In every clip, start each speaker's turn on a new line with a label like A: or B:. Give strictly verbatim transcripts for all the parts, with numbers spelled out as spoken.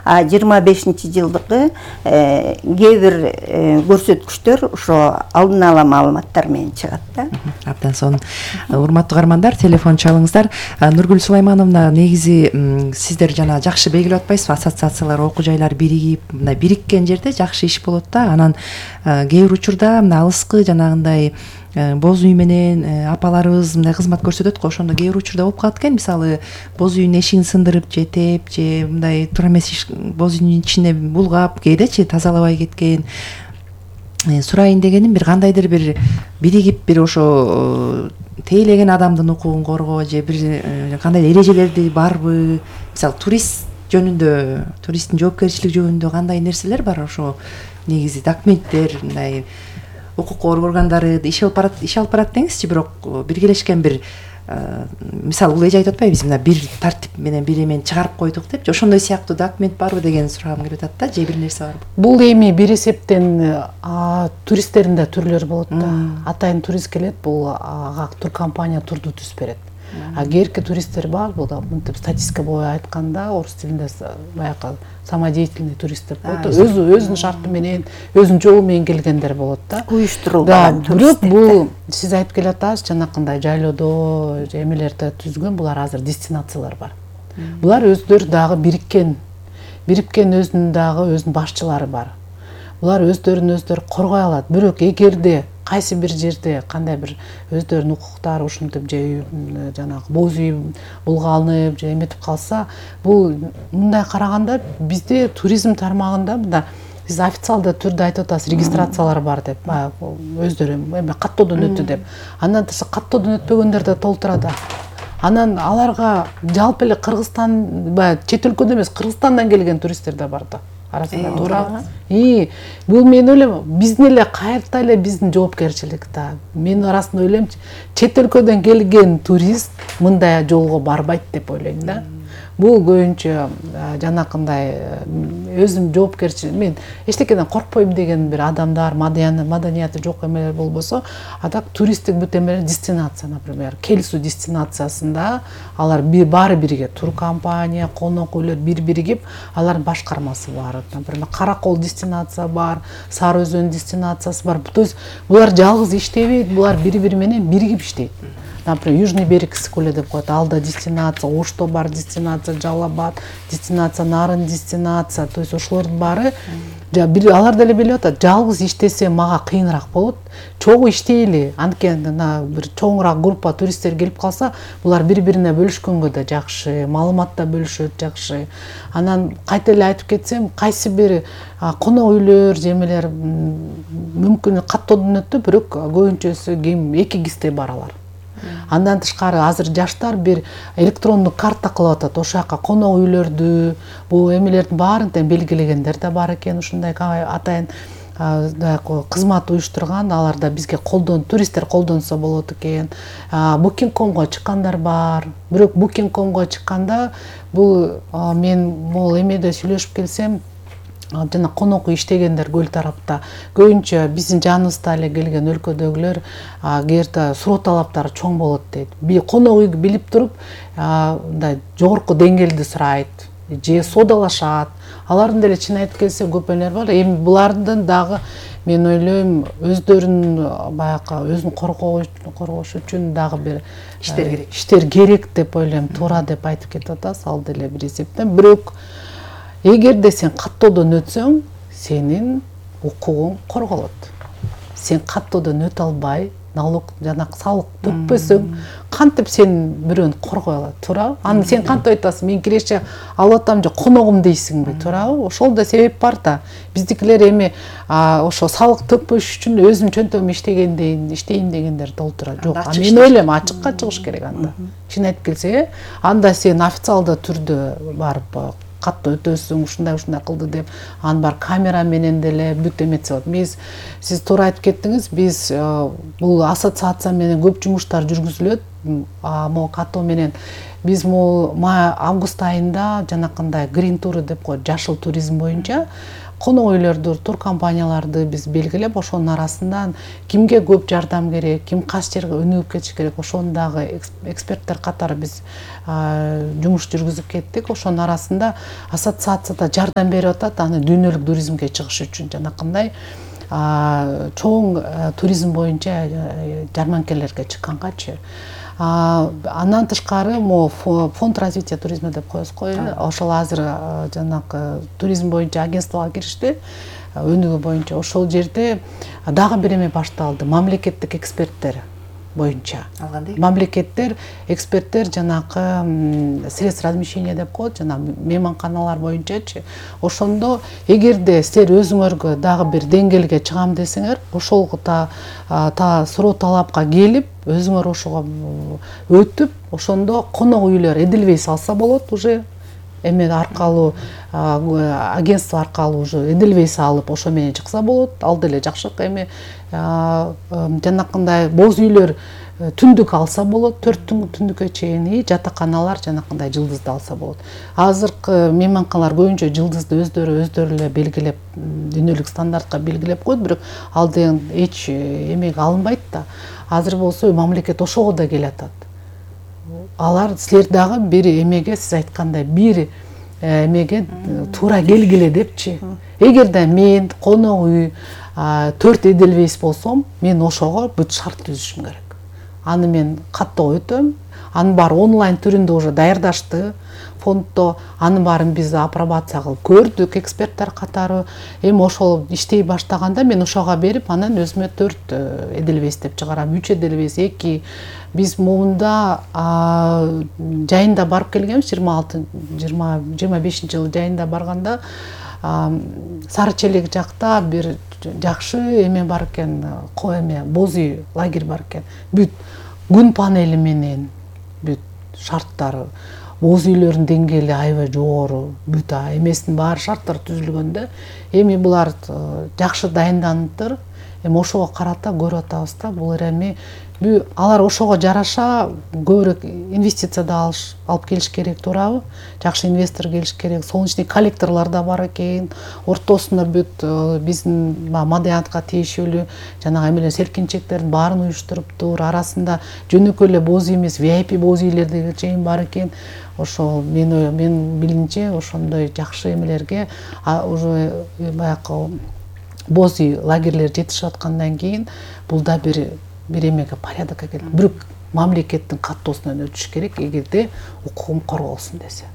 A: а жыйырма бешинчи жылдыкы кээ бир көрсөткүчтөр ошо алдын ала маалыматтар менен чыгат да.
B: Абдан сонун. Урматтуу каармандар, телефон чалыңыздар. Нургүл Сулаймановна, негизи сиздер жана жакшы белгилеп атпайсызбы, ассоциациялар, окуу жайлар биригип, мындай бириккен жерде жакшы иш болот да. Анан кээ бир учурда мына алыскы жанагындай боз үй менен апаларыбыз мындай кызмат көрсөтөт го, ошондо кээ бир учурда болуп калат экен. Мисалы, боз үйдүн эшигин сындырып же теп, же мындай туура эмес боз үйдүн ичине булгап, кээдечи тазалабай кеткен. Сурайын дегеним, бир кандайдыр бир биригип бир ошо тейлеген адамдын укугун коргоо же бир кандай эрежелерди барбы? Мисалы, турист жөнүндө, туристтин жоопкерчилиги жөнүндө кандай нерселер бар? Ошо негизи документтер, мындай укук коргоо органдары иш алып барат, иш алып барат деңизчи, бирок биргелешкен бир мисалы, бул эже айтып атпайбыз, мына бир тартип менен бир эмени чыгарып койдук депчи, ошондой сыяктуу документ барбы деген сурагым келип атат да, же бир нерсе барбы?
C: Бул эми бир эсептен туристтердин да түрлөрү болот да. Атайын турист келет, бул ага туркомпания турду түзүп берет. А кээки туристтер бар, бул да мынтип статистика боюнча айтканда, орус тилинде баягы самодеятельный туристтер болот. Өзү өзүнүн шарты менен, өзүнүн жолу менен келгендер болот да.
A: Уюштурулган
C: туристтер. Бул сиз айтып келатасыз, жанакындай жайлоодо же эмелерде түзгөн, булар азыр дестинациялар бар. Булар өздөрү дагы бириккен, бириккен өзүнүн дагы өзүнүн башчылары бар. Булар өздөрүн өздөрү коргой алат. Бирок эгерде кайсы бир жерде кандай бир өздөрүнүн укуктары ушинтип же жанагы боз үй булганып же эметип калса, бул мындай караганда бизде туризм тармагында мында сиз официалдуу түрдө айтып атасыз, регистрациялар бар деп, өздөрү эме каттоодон өттү деп. Андан тышкары каттоодон өтпөгөндөр да толтура да. Анан аларга жалпы эле Кыргызстан, баягы чет өлкөдөн эмес, Кыргызстандан келген туристтер да бар да. Арасында туура. И бул мен ойлойм, биздин эле кайерта эле биздин жоопкерчилик да. Мен арасында ойлойм, чет өлкөдөн келген турист мындай жолго барбайт деп ойлойм да. Бул көбүнчө жанакындай өзүм жоопкерчилик, мен эчтекеден коркпойм деген бир адамдар, маданияты жок эмелер болбосо, а так туристтик бүт эмелер дестинация, например, Келсу дестинациясында алар баары бирге, туркомпания, конок үйлөр бир биригип, алардын башкармасы бар. Например, Каракол дестинация бар, Сары Өзөн дестинациясы бар. То есть булар жалгыз иштебейт, булар бири-бири менен биригип иштейт. Например, Южный берег Сыкуле деп коет, алда дестинация, Ошто бар дестинация, Жалал-Абад дестинация, Нарын дестинация. То есть ошолордун баары алар деле билип атат, жалгыз иштесе мага кыйыныраак болот. Чогуу иштейли, анткени бир чоңураак группа туристтер келип калса, булар бири-бирине бөлүшкөнгө да жакшы, маалымат да бөлүшөт жакшы. Анан кайта эле айтып кетсем, кайсы бир конок үйлөр, жемелер мүмкүн каттоодон өттү, бирок көбүнчөсү ким эки кисте баралар. Андан тышкары азыр жаштар бир электрондук карта кылып атат. Ошол жака конок үйлөрдү, бул эмелердин баарын тең белгилегендер да бар экен. Ушундай атайын кызмат уюштурган, алар да бизге колдон, туристтер колдонсо болот экен. Booking точка комго чыккандар бар. Бирок Booking точка комго чыкканда бул мен могул эмеде сүйлөшүп келсем, жана конок үй иштегендер көл тарапта көбүнчө биздин жаныбызда эле келген өлкөдөгүлөр кээрде суроо талаптары чоң болот дейт. Би конок үйгө билип туруп, мындай жогорку деңгээлди сурайт, же содалашат. Алардын деле чын айтып келсе көп элер бар. Эми булардын дагы мен ойлойм, өздөрүн баягы өзүн коргош үчүн дагы бир иштер керек. Иштер керек деп ойлойм, туура деп айтып кетип атасыз, ал деле бир эсептен. Бирок эгерде сен каттоодон өтсөң, сенин укугуң корголот. Сен каттоодон өтө албай, налог жана салык төкпөсөң, кантип сен бирөөнү коргой алат, туура? Аны сен кантип айтасың, мен киреше алып атам же коногум дейсиңби, туурабы? Ошол да себеп бар да. Биздикилер эми ошо салык төкпөш үчүн өзүм чөнтөгүм иштегендейин, иштейин дегендер толтура. Жок, мен ойлойм, ачыкка чыгыш керек анда. Чын айтып келсе, анда сен официалдуу түрдө барып катты өтөсүң, ушундай ушундай кылды деп, аны бар камера менен деле бүт эметсе болот. Биз сиз туура айтып кеттиңиз, биз бул ассоциация менен көп жумуштар жүргүзүлөт. могу катуу менен биз могу август айында жанакындай грин тур деп коет, жашыл туризм боюнча конок үйлөрдү, тур компанияларды биз белгилеп, ошонун арасынан кимге көп жардам керек, ким кайсы жерге өнүгүп кетиш керек, ошону дагы эксперттер катары биз жумуш жүргүзүп кеттик. Ошонун арасында ассоциацияда жардам берип атат аны дүйнөлүк туризмге чыгыш үчүн, жанакындай чоң туризм боюнча жарманкелерге чыккангачы. Андан тышкары могу фонд развития туризма деп коебуз го, ошол азыр жанакы туризм боюнча агентствого киришти, өнүгүү боюнча. Ошол жерде дагы бир эме башталды, мамлекеттик эксперттер боюнча. Мамлекеттер, эксперттер жанакы средств размещения деп коет, жана мейманканалар боюнчачы. Ошондо эгерде силер өзүңөргө дагы бир деңгээлге чыгам десеңер, ошол та суроо талапка келип, өзүңөр ошого өтүп, ошондо конок үйлөр Эдельвейс алса болот, уже эме аркылуу агентство аркылуу уже Эдельвейс алып, ошо менен чыкса болот. Ал деле жакшы эме жанакындай боз үйлөр түндүк алса болот, төрт түндүккө чейин, и жатаканалар жанакындай жылдызды алса болот. Азыркы мейманканалар көбүнчө жылдызды өздөрү өздөрү эле белгилеп, дүйнөлүк стандартка белгилеп коет, бирок ал деген эч эмеге алынбайт да. Азыр болсо мамлекет ошого да келатат. Алар силер дагы бир эмеге, сиз айткандай бир эмеге туура келгиле депчи. Эгерде мен конок үй төрт Эдельвейс болсом, мен ошого бүт шарт түзүшүм керек. Аны мен каттоо өтөм. Анын баары онлайн түрүндө уже даярдашты фонддо. Анын баарын биз апробация кылып көрдүк, эксперттер катары. Эми ошол иштей баштаганда мен ошого берип, анан өзүмө төрт Эдельвейс деп чыгарам, үч Эдельвейс, эки. Биз могунда жайында барып келгенбиз, жыйырма алты жыйырма бешинчи жылы жайында барганда Сары Челек жакта бир жакшы эме бар экен, ко эме боз үй лагерь бар экен. Бүт күн панели менен, бүт шарттары, боз үйлөрдүн деңгээли аябай жогору, бүт эмесинин баары шарттар түзүлгөндө, эми булар жакшы дайынданыптыр. Эми ошого карата көрүп атабыз да, бул эми алар ошого жараша көбүрөөк инвестиция да алып келиш керек, туурабы? Жакшы инвестор келиш керек. Солнечный коллекторлор да бар экен. Ортосуна бүт биздин Мадаянтка тиешелүү жанагы эмелер селкинчектердин баарын уюштуруптур. Арасында жөнөкөй эле боз үй эмес, ви ай пи боз үйлер деген чейин бар экен. Ошол мен мен билимче ошондой жакшы эмелерге уже баягы боз үй лагерлер жетишип аткандан кийин бул да бир бир эмеге порядокко келет. Бирок мамлекеттин каттоосунан өтүш керек, эгерде укугум корголсун десе.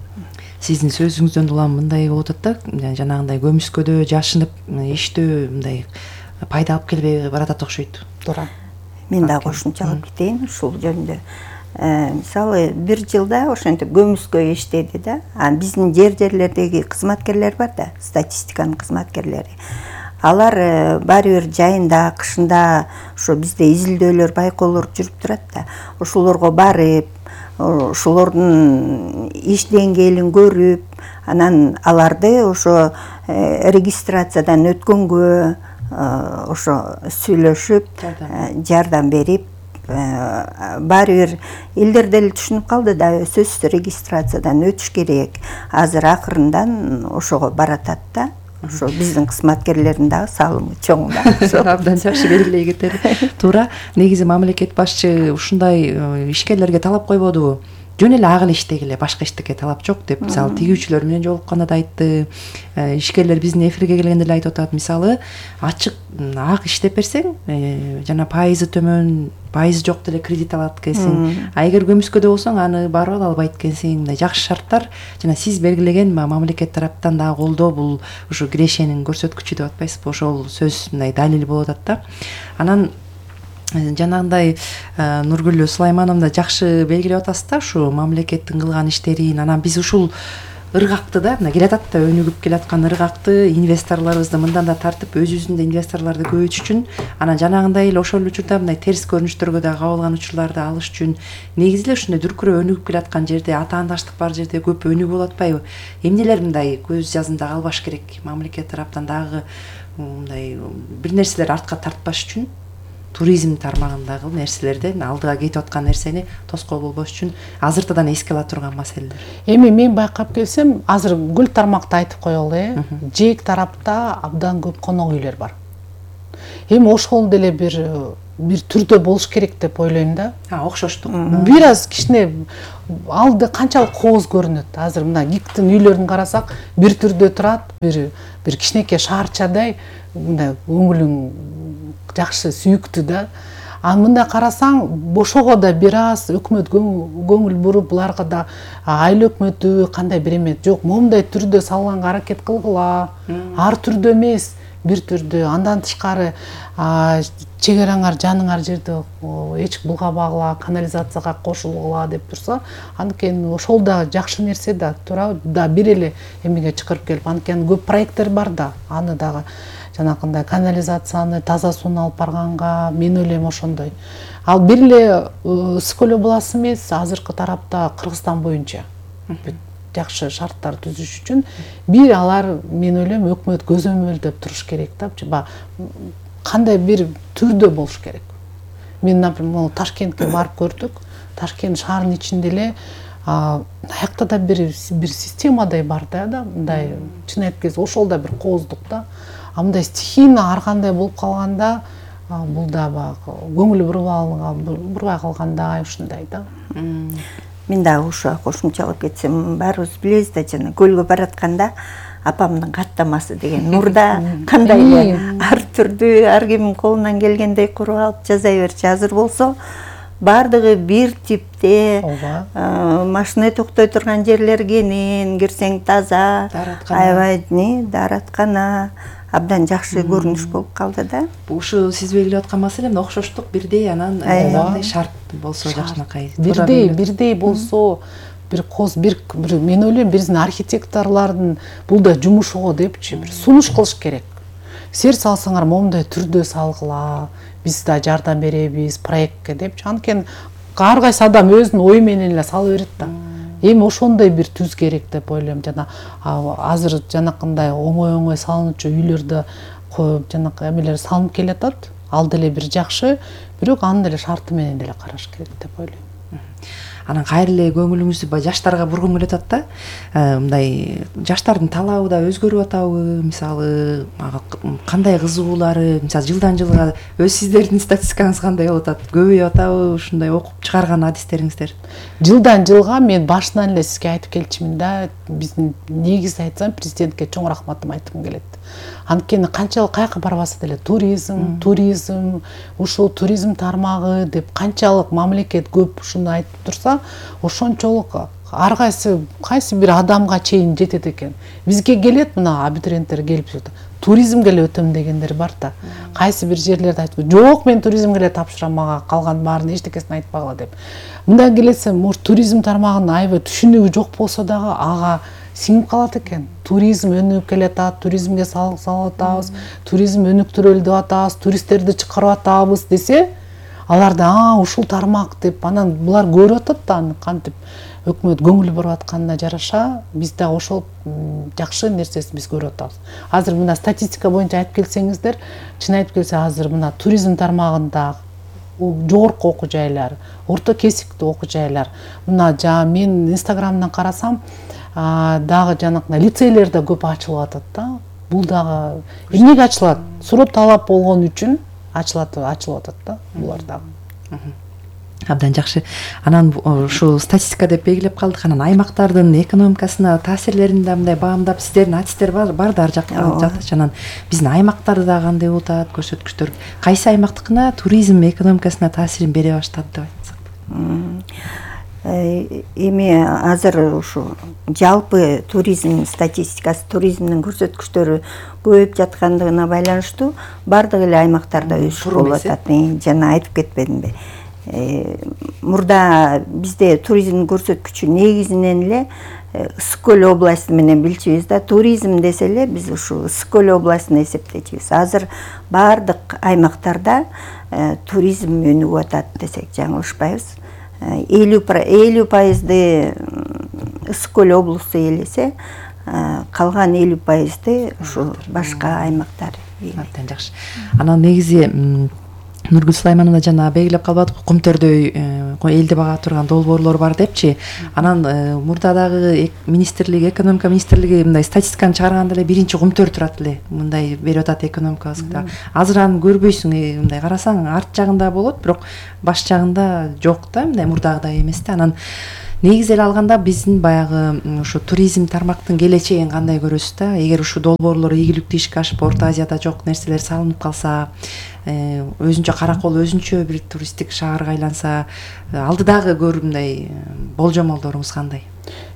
B: Сиздин сөзүңүздөн улам мындай болуп атат да, жанагындай көмүскөдө жашынып иштөө мындай пайда алып келбей баратат окшойт.
C: Туура.
A: Мен да кошумчалап кетейин ушул жөнүндө. Мисалы бир жылда ошентип көмүскө иштеди да. А биздин жер жерлердеги кызматкерлер бар да, статистиканын кызматкерлери. Алар баары бир жайында, кышында ошо бизде изилдөөлөр, байкоолор жүрүп турат да. Ошолорго барып, ошолордун иш деңгээлин көрүп, анан аларды ошо регистрациядан өткөнгө ошо сүйлөшүп, жардам берип, баары бир элдер деле түшүнүп калды да, сөзсүз регистрациядан өтүш керек. Азыр акырындан ошого баратат да. Ошо биздин кызматкерлердин дагы салымы чоң да.
B: Абдан жакшы белгилей кетет. Туура. Негизи мамлекет башчы ушундай ишкерлерге талап койбодубу? Жөн эле ак эле иштегиле, башка иштекке талап жок деп. Мисалы тигүүчүлөр менен жолукканда да айтты. Ишкерлер биздин эфирге келгенде эле айтып атат. Мисалы ачык ак иштеп берсең, жана пайызы төмөн, пайызы жок деле кредит алат экенсиң. А эгер көмүскөдө болсоң, аны барып ала албайт экенсиң. Мындай жакшы шарттар жана сиз белгилеген мамлекет тараптан дагы колдоо, бул ушу кирешенин көрсөткүчү деп атпайсызбы? Ошол сөз мындай далил болуп атат да. Анан жанагындай Нургүл Сулаймановна жакшы белгилеп атасыз да, ушу мамлекеттин кылган иштерин. Анан биз ушул ыргакты да, мына келатат да, өнүгүп келаткан ыргакты инвесторлорубузду мындан да тартып, өзүбүздүн инвесторлорду көбөйтүш үчүн, анан жанагындай эле ошол учурда мындай терс көрүнүштөргө да кабылган учурларды алыш үчүн негизи эле ушундай дүркүрөө өнүгүп келаткан жерде, атаандаштык бар жерде көп өнүгүү болуп атпайбы? Эмнелер мындай көз жазында калбаш керек? Мамлекет тараптан дагы мындай бир нерселер артка тартпаш үчүн? туризм тармагындагы нерселерден алдыга кетип аткан нерсени тоскоол болбош үчүн азыртадан эске ала турган маселелер.
C: Эми мен байкап келсем, азыр гүл тармакты айтып коелу, э. Жээк тарапта абдан көп конок үйлөр бар. Эми ошол деле бир бир түрдө болуш керек деп ойлойм да.
B: А, окшоштук.
C: Бир аз кичине алды канчалык кооз көрүнөт. Азыр мына ГИКтин үйлөрүн карасак, бир түрдө турат, бир бир кичинекей шаарчадай, мындай көңүлүң жакшы, сүйүктүү да. А мындай карасаң, ошого да бир аз өкмөт көңүл буруп, буларга да айыл өкмөтү кандай бир эме жок, момундай түрдө салганга аракет кылгыла. Ар түрдө эмес, бир түрдө. Андан тышкары чегер аңар жаныңар жерди эч булгабагыла, канализацияга кошулгула деп турса, анткени ошол да жакшы нерсе да, туура да бир эле эмеге чакырып келип, анткени көп проекттер бар да, аны дагы жанакындай канализацияны, таза сууну алып барганга мен ойлойм ошондой. Ал бир эле Ысык-Көл областы эмес, азыркы тарапта Кыргызстан боюнча жакшы шарттар түзүш үчүн бир алар мен ойлойм өкмөт көзөмөлдөп туруш керек да. Кандай бир түрдө болуш керек. Мен, например, Ташкентке барып көрдүк. Ташкент шаарынын ичинде эле аякта да бир бир системадай бар да, мындай чын айтып келсе ошол да бир кооздук да. А мындай стихийно ар кандай болуп калганда, бул да баягы көңүл бурбай калгандай ушундай да.
A: Мен дагы ушуга кошумчалап кетсем, баарыбыз билебиз да, жана көлгө баратканда апамдын каттамасы деген мурда кандай эле ар түрдүү, ар кимдин колунан келгендей куруп алып жаза берчү. Азыр болсо бардыгы бир типте, машина токтой турган жерлер кенен, кирсең таза, аябай даараткана, абдан жакшы көрүнүш болуп калды да.
B: Ушу сиз белгилеп аткан маселе окшоштук бирдей, анан мындай шарт болсо жакшынакай.
C: Бирдей, бирдей болсо, бир коз, бир мен ойлойм биздин архитекторлордун бул да жумушу го депчи, бир сунуш кылыш керек. Сер салсаңар момундай түрдө салгыла, биз да жардам беребиз проектке депчи. Анткени ар кайсы адам өзүнүн ою менен эле сала берет да. Эми ошондой бир түз керек деп ойлойм. Жана азыр жанакындай оңой-оңой салынчу үйлөрдө жанакы эмелер салынып келатат. Ал деле бир жакшы, бирок анын деле шарты менен деле караш керек деп ойлойм.
B: Анан кайра эле көңүлүңүздү жаштарга бургум келип атат да. Мындай жаштардын талабы да өзгөрүп атабы? Мисалы, кандай кызыгуулары, мисалы жылдан жылга өз сиздердин статистикаңыз кандай болуп атат? Көбөйүп атабы ушундай окуп чыгарган адистериңиздер?
C: Жылдан жылга мен башынан эле сизге айтып келчүмүн да, биздин негизи айтсам президентке чоң рахматым айткым келет. Анткени канчалык каяка барбаса деле туризм, туризм, ушул туризм тармагы деп канчалык мамлекет көп ушуну айтып турса, ошончолук ар кайсы кайсы бир адамга чейин жетет экен. Бизге келет мына абитуриенттер келип жатат. Туризмге эле өтөм дегендер бар да. Кайсы бир жерлерде айтып, жок мен туризмге эле тапшырам, мага калган баарын эчтекесин айтпагыла деп. Мындай келесем, может туризм тармагынын аябай түшүнүгү жок болсо дагы ага сиңип калат экен. Туризм өнүгүп келатат, туризмге салык салып атабыз, туризм өнүктүрөлүп атабыз, туристтерди чыгарып атабыз десе, алар да а ушул тармак деп анан булар көрүп атат да, аны кантип өкмөт көңүл буруп атканына жараша биз да ошол жакшы нерсесин биз көрүп атабыз. Азыр мына статистика боюнча айтып келсеңиздер, чын айтып келсе азыр мына туризм тармагында жогорку окуу жайлар, орто кесиптүү окуу жайлар, мына жана мен инстаграмдан карасам дагы жанакындай лицейлер да көп ачылып атат да. Бул дагы эмнеге ачылат? Суроо талап болгон үчүн ачылат, ачылып атат да булар дагы.
B: Абдан жакшы. Анан ушул статистика деп белгилеп калдык. Анан аймактардын экономикасына таасирлерин да мындай баамдап сиздердин адистер бар да ар жакта. Анан биздин аймактарда дагы кандай болуп атат, көрсөткүчтөр? Кайсы аймактыкына туризм экономикасына таасирин бере баштады деп айтсак?
A: Эми азыр ушу жалпы туризм статистикасы, туризмдин көрсөткүчтөрү көбөйүп жаткандыгына байланыштуу бардык эле аймактарда өсүш болуп атат. Жана айтып кетпедимби? Мурда бизде туризм көрсөткүчү негизинен эле Ысык-Көл областы менен билчүбүз да. Туризм десе эле биз ушу Ысык-Көл областын эсептечүбүз. Азыр бардык аймактарда туризм өнүгүп атат десек жаңылышпайбыз. элүү пайызды Ысык-Көл облусу ээлесе, калган элүү пайызды ушу башка аймактар.
B: Абдан жакшы. Анан негизи Нургүл Сулаймановна жана белгилеп калбадык, Кумтөрдөй элди бага турган долбоорлор бар депчи. Анан мурда дагы министрлик, экономика министрлиги мындай статистиканы чыгарганда эле биринчи Кумтөр турат эле. Мындай берип атат экономикабызда. Азыр аны көрбөйсүң, мындай карасаң арт жагында болот, бирок баш жагында жок да, мындай мурдагыдай эмес да. Анан негизи эле алганда биздин баягы ушу туризм тармактын келечегин кандай көрөсүз да? Эгер ушул долбоорлор ийгиликтүү ишке ашып, Орто Азияда жок нерселер салынып калса, өзүнчө Каракол өзүнчө бир туристтик шаарга айланса, алдыдагы көрүмдөй болжомолдоруңуз кандай?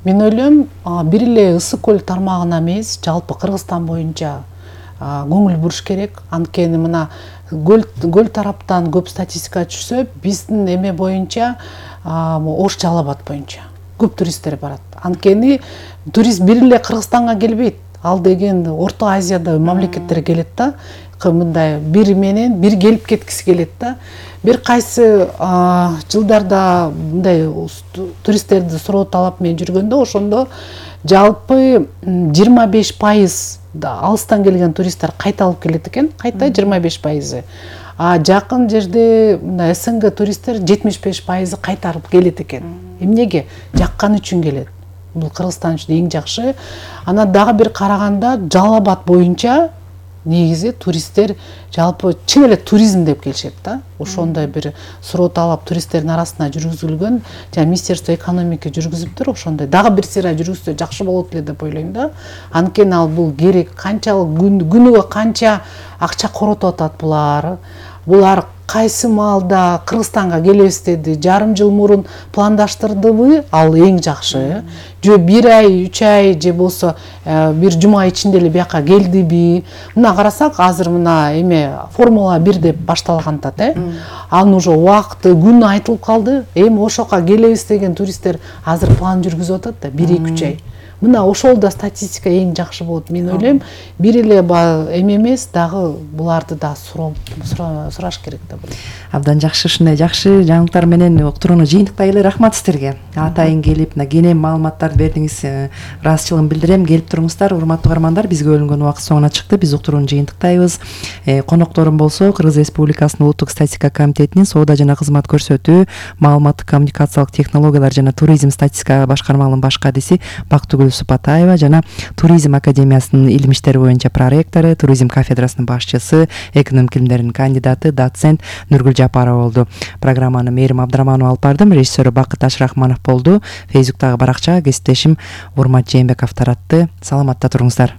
C: Мен ойлойм, бир эле Ысык көл тармагына эмес, жалпы Кыргызстан боюнча көңүл буруш керек. Анткени мына көл тараптан көп статистика түшсө, биздин эме боюнча, Ош Жалал Абад боюнча көп туристтер барат. Анткени турист бир эле Кыргызстанга келбейт. Ал деген Орто Азияда мамлекеттер келет да. Мындай бир менен бир келип кеткиси келет да. Бир кайсы жылдарда мындай туристтерди суроо-талап менен жүргөндө, ошондо жалпы жыйырма беш пайыз алыстан келген туристтер кайталып келет экен, кайта жыйырма беш пайызы. А жакын жерде мына СНГ туристтер жетимиш беш пайызы кайтарып келет экен. Эмнеге? Жаккан үчүн келет. Бул Кыргызстан үчүн эң жакшы. Анан дагы бир караганда Жалал Абад боюнча негизи туристтер жалпы чын эле туризм деп келишет да. Ошондой бир суроо-талап туристтердин арасына жүргүзүлгөн, жана Министерство экономика жүргүзүптүр, ошондой дагы бир сыйра жүргүзсө жакшы болот эле деп ойлойм да. Анткени ал бул керек, канчалык күнүгө канча акча коротуп атат булар. Булар кайсы маалда Кыргызстанга келебиз деди, жарым жыл мурун пландаштырдыбы, ал эң жакшы. Же бир ай, үч ай же болсо бир жума ичинде эле бияка келдиби? Мына карасак, азыр мына эме Формула бир деп башталгантат, э? Анын уже убакыты, күнү айтылып калды. Эми ошока келебиз деген туристтер азыр план жүргүзүп атат да, бир эки үч ай. Мына ошол да статистика эң жакшы болот. Мен ойлойм, бир эле эме эмес, дагы буларды да сураш керек да.
B: Абдан жакшы, ушундай жакшы жаңылыктар менен уктурууну жыйынтыктай эле. Рахмат сиздерге. Атайын келип, кенен маалыматтарды бердиңиз. Ыраазычылыгымды билдирем. Келип туруңуздар, урматтуу угармандар. Бизге бөлүнгөн убакыт соңуна чыкты. Биз уктурууну жыйынтыктайбыз. Конокторум болсо, Кыргыз Республикасынын Улуттук статистика комитетинин Соода жана кызмат көрсөтүү, маалыматтык коммуникациялык технологиялар жана туризм статистика башкармалыгынын баш кадиси Бактыгүл Супатаева жана Туризм академиясынын илим иштери боюнча проректору, туризм кафедрасынын башчысы, экономика илимдеринин кандидаты, доцент Нургүл Жапарова болду. Программаны Мээрим Абдыраманова алып бардым, режиссеру Бакыт Ашрахманов болду. Фейсбуктагы баракчага кесиптешим Урмат Жээнбеков таратты. Саламатта туруңуздар.